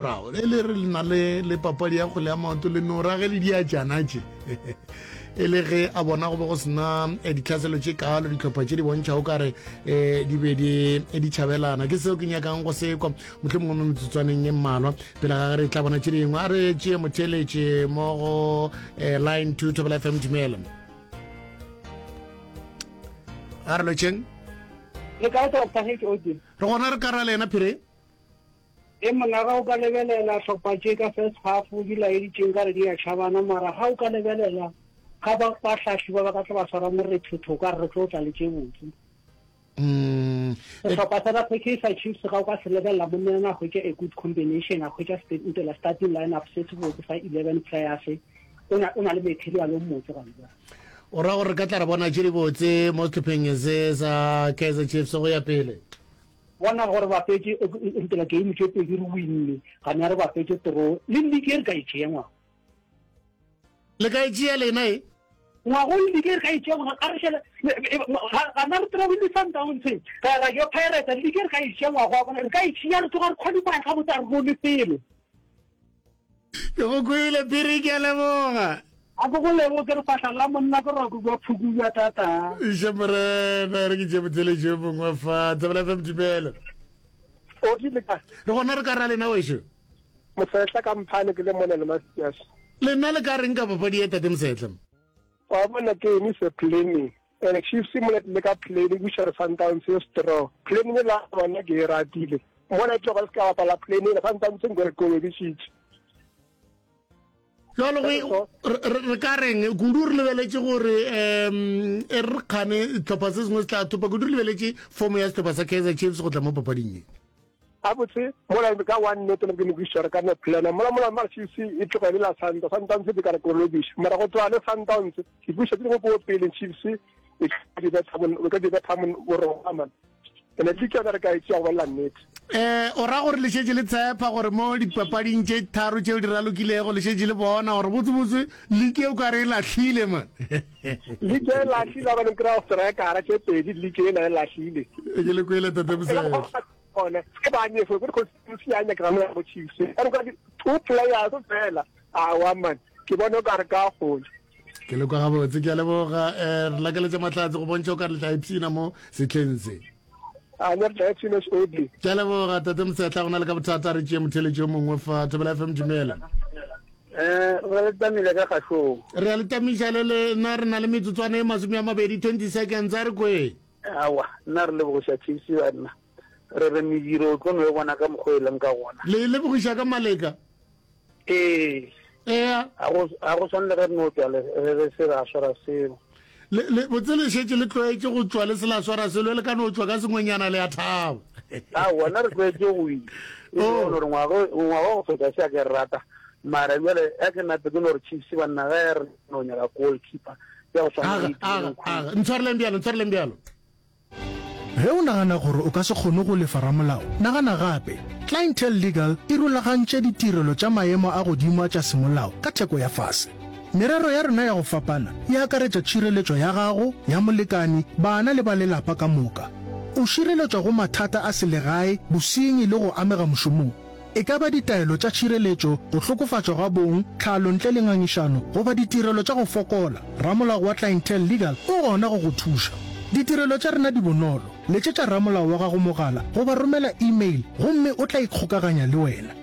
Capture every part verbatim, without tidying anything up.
Morago e le re le na le le papadi ya kgwele ya maoto le no ra ge le diatšana tše e le ge a bona go be go sena eh, ditlhaselo tše kalo dihlopha tše di bontšhago kare um di be di eh, di tšhabelana ke seo ke nyakang go se kwa mohlho mongwe mo metsotswaneng e mmalwa pele ga ge re tla bona tše dingwe a re tšee motheeletše mo go um line two Thobela F M dumela a re lotšheng Le kae Doctor H O D? Re gona re ka ra le yena phiri. E monna ga o ka lebelela hlopha tše ka first half di laeditše nkare di a tšhabana mara ga o ka lebelela ga ba bahlahli ba ba ka tla ba swara morethetho o ka re re tlo tla le tše botse. Mm. Sehlopha sa Kaizer Chiefs ga o ka se lebelela monna yena a hwetša a good combination a hwetša ntela starting lineup se se botse sa eleven players o na o na le material o mmotse gona bjale. O ra gore re ka tla re bona tše dibotse mo sehlopheng se sa Kaizer Chiefs go ya pele? Bona gore bapetše ntela game tše pedi re winne, gana re bapetše draw. Le league e re ka e tšea ngwago. Le ka e tšea lena e? Ngwago league e re ka e tšea ngwago, a re šele gana re drawile le Sundowns, ra ra yo Pirates, league e re ka e tšea ngwago wa bona, re ka e tšea re tloga re qualify gabotse a re role selo. Ke go kwele Phiri, ke a leboga. A ke go leboge ke re fahla la monna ke roka bja phuku bja tata. Iša morena re ke tše motheletši yo mongwe fa Thobela F M dumela. O rile kae? Re gona re ka ra lena wešo. Mosehla ka mphane ke le mona le Masias. Lena le ka reng ka papadi ye tate Mosehla? Wa bona game is a planning and Chiefs mola tlile ka planning buša re Sundowns e strong planning e la bona ke e ratile mola e tloga le se ka bapala planning Sundowns nko re kolobešitše. Jalo go re ka reng kudu re lebeletše gore um e re kgane sehlopha se sengwe se tla thopa kudu re lebeletše fomo ya sehlopha sa Kaizer Chiefs go tla mo papading ye. Gabotse mola ka one nete ke ne ke re ka no plana mola mola mara Chiefs e tloga e le la Sundowns Sundowns e ka re kolobiša mara go tloga le Sundowns ke buša tse dingwe ko pele Chiefs e ka di betha mo ka di betha mo boroma man ene ke yona re ka e tšea go bolela nnete. Eh, o ra gore le šetše le tshepa gore mo dipapading tše tharo tšeo di ralokilego le šetše le bona gore botsebotse league e o ka re e lahlile man. League e lahlile gobane kry-a strikera tše pedi league ela e lahlile. Ke le kwele tate Mosehla. Gone ke ba nyefo ke consistency ya nyakega mo go Chiefs. Ka re two players fela. Awa man, ke bona o ka re ka gole. Ke le kwa gabotse, ke a leboga. Eh, re lakeletša mahlatse go bontšha o ka re le tla ipshina mo sehleng se. A ne re tla ipshina S O D. Ke a leboga tate Mosehla, go na le ka bothata re tšee motheletši yo mongwe fa Thobela F M dumela. Eh, re le tamile ka kgašong. Re a le tamiša le le nna re na le metsotswana e masome a mabedi twenty seconds a re kwe. Awa, nna re lebogiša Chiefs banna. Re re mediro o tlo no e bona ka mokgwa e leng ka gona. Le e lebogiša ka maleka? Ee. Ea. A go, a go swane le ge re no tšwa le, re, re se ra swara selo. Le, le, botse le šetše le tlwaetše go tšwa le se la swara selo, le ka no tšwa ka sengwenyana le a thaba. Aowa, nna re tlwaetše go wina. E Oh. no re ngwaga, ngwaga wa go feta se a ke re rata. Mara bjale a ke nape ke no re Chiefs banna ge re no nyaka goalkeeper ya go swana Aga, le aga, Itumeleng Khune. aga. Ntshwareleng bjalo, ntshwareleng bjalo. Ge o nagana gore o ka se kgone go lefa ramolao, nagana gape. Clientele Legal e rulagantše ditirelo tša maemo a godimo a tša semolao ka theko ya fase. Merero ya rena ya go fapana e akaretša tšhireletšo ya gago, ya molekane, bana le ba lelapa ka moka. O šireletšwa go mathata a selegae, bosenyi le go amega mošomong. E ka ba ditaelo tša tšhireletšo, go hlokofatšwa ga bong, tlhalo ntle le ngangišano, goba ditirelo tša go fokola, ramolao wa Clientele Legal o gona go go thuša. Ditirelo tša rena di bonolo. Letšetša ramolao wa gago mogala goba romela e-mail gomme o tla ikgokaganya le wena.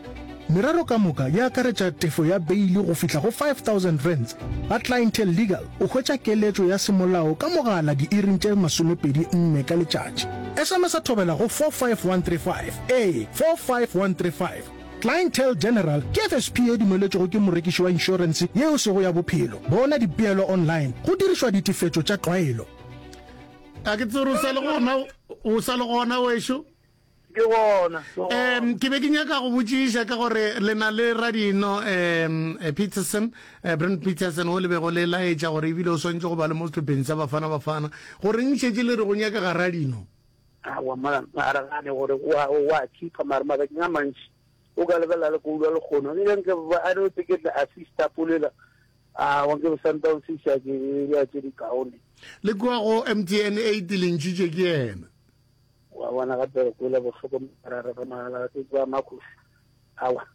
Merero ka moka e akaretša tefo ya beili go fihla go five thousand rands. Ga Clientele Legal o hwetša keletšo ya semolao ka mogala diiring tše masomepedi nne ka letšatši. S M S-a thobela go four five one three five, ee, four five one three five. Clientele General ke F S P e dumeletšwego ke morekiši wa inšorense ye e sego ya bophelo. Bona dipeelo online go dirišwa ditefetšo tša tlwaelo. A ke tsebe gore o sa le gona, o sa le gona wešo? Ke gona, ke gona. Um ke be ke nyaka go botšiša ka gore le na le radino um Peterson, eh, Brent Peterson wo le bego le laetša gore ebile o swanetše go ba le mo sehlopheng sa Bafana Bafana. Goreng šetše le re go nyakega radino? Aowa, mara ga re gane gore wa, wa keeper, mara mabakeng a mantši o ka lebelela le Koulwa lekgono. Nke nke ba, I don't think ke assista polela. Aowa, nke be Sundowns e ša ke ya tše di kaone. Le kua go M T N eight le ntšhitše ke yena. Wa bona gape re kwele bohloko mara re re magala ke ba Marcus. Awa.